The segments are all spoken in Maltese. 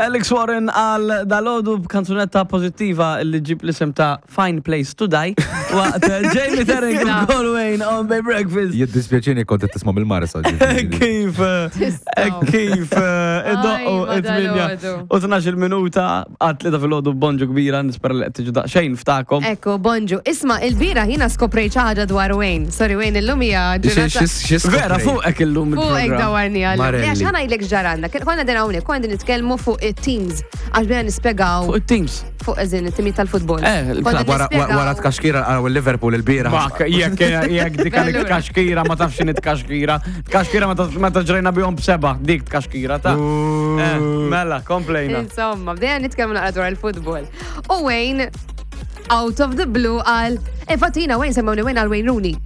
Alex Warren għal dalodu b'kanzunetta pozittiva li ġib l-isem ta' Fine Place to Die waqt Jamie Terring u Colwayne on Bay Breakfast. Jiddispjaċini kont qed tisma' mill-Marsa. ġifieri. Kif, kif, id-doqqu Ajma, it-8 dalodu. u 12 minuta għal tlieta filgħodu bonġu kbira nispera li qed tiġu daqsxejn ftakom. Ekku, bonġu. Isma, il-bira jina skoprejt xi ħaġa dwar Wayne. Sorry, Wayne, illum hija ġurnata. Vera fuqek illum Fuq hekk il-programm. dawarni għal. Marelli. Għax ħana jlek ġaranna. Konna din hawnhekk, konna din nitkellmu fuq it-teams. Għax bdejna nispjegaw Fuq it-teams. fuq eżin it-timijiet tal-futbol. Eh, il-klabb. Konna Wara nispjegaw- wara tkaxkira għaraw il-Liverpool il-bira. Mak, jekk jekk dik għalik Allura. tkaxkira ma tafx x'inhi tkaxkira. Tkaxkira ma ta' ġrejna bihom b'seba, dik tkaxkira ta' Eh, mela, komplejna. Insomma, bdejna nitkellmu naqra dwar il-futbol. U Wayne, out of the blue, qal, infatti jiena Wayne semmewni Wayne għal Wayne Rooney.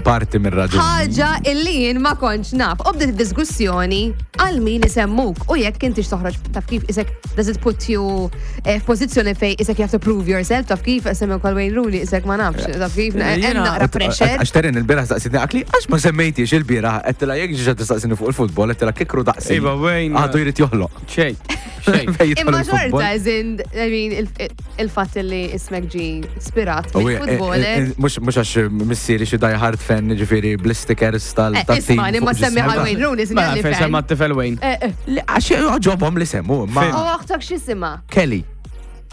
Parti minn raġun. ħaġa illi jien ma kontx naf. U bdiet diskussjoni għal min isemmuk u jekk intix toħroġ taf kif isek does it put you eh, f'pożizzjoni fej isek you have to prove yourself taf kif isemmuk għal Wayne Rooney isek ma nafx taf kif Eh, hemm jiena- naqra pressure. Għax terin il-bira staqsitni għakli, għax ma semmejtix il-bira, għettila jek ġiġa tistaqsini fuq il-futbol, għettila kikru daqsi. Iva, Wayne. Għadu jrid joħloq. Xej, xej. Fejn jidħol Imma il-futbol. xorta, as in, I mean, il- il-fatt li ismek ġi spirat U, eh, mill-futboler. eh, Mux mux għax missieri xi die hard fan, ġifiri bl-stickers tal Eh, tat-team Isma, li ma fuq semmi ġismu. għal Wayne Rooney, Mela, sinjali fejn fan. semma t-tifel Wayne. Eh, eh. Li, Għax għoġobhom li semmu, ma U oħtok x'isima? Kelly.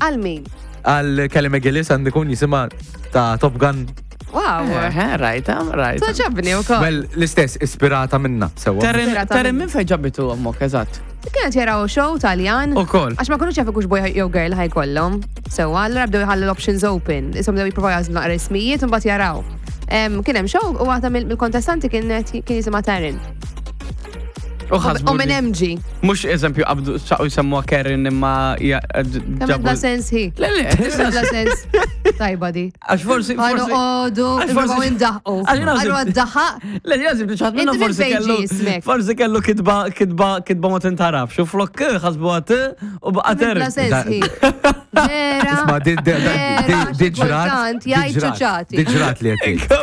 Għal min? Għal Kelly McGillis għandu kun jisima ta' Top Gun. Wow. Eh, rajta, rajta. Toġobni u koll. Well, l-istess, ispirata minna, sewa. Terren, Ispirata Terren minna. minn fejn ġabitu għammok, eżatt. Kienet jaraw show taljan. U koll. Għax ma kunux jafu kux boy jew girl ħajkollhom. Sewa, allura bdew jħallu l-options open. Isom bdew jippruvaw jażlu naqra ismijiet u mbagħad jaraw. Em, Kien hemm show u waħda mill-kontestanti kien kien jisimha Taryn. U ħasbu U minn li- hemm ġi. Mux eżempju qabdu saqu jsemmuha Karen imma Kemm ġabu. bla sens hi. Le, le, Kemm bla sens. Tajba di. Għax forsi. Għanu forsi- għodu, għax forsi- nipprovaw indaħqu. Għax jina Għanu għazib- għaddaħaq. Le, jazib li ċaħat minna Inti minn forsi fejn kellu. ġie ismek? Forsi kellu kitba, kitba, kitba ma tintarafx. U flok ħasbu għat u baqa Kemm bla Terren. sens Da- hi. Vera. Isma, di- di- di- vera, di- di xi ġrat. kultant di jgħid ġrat, ċuċati. Di ġrat li għetti.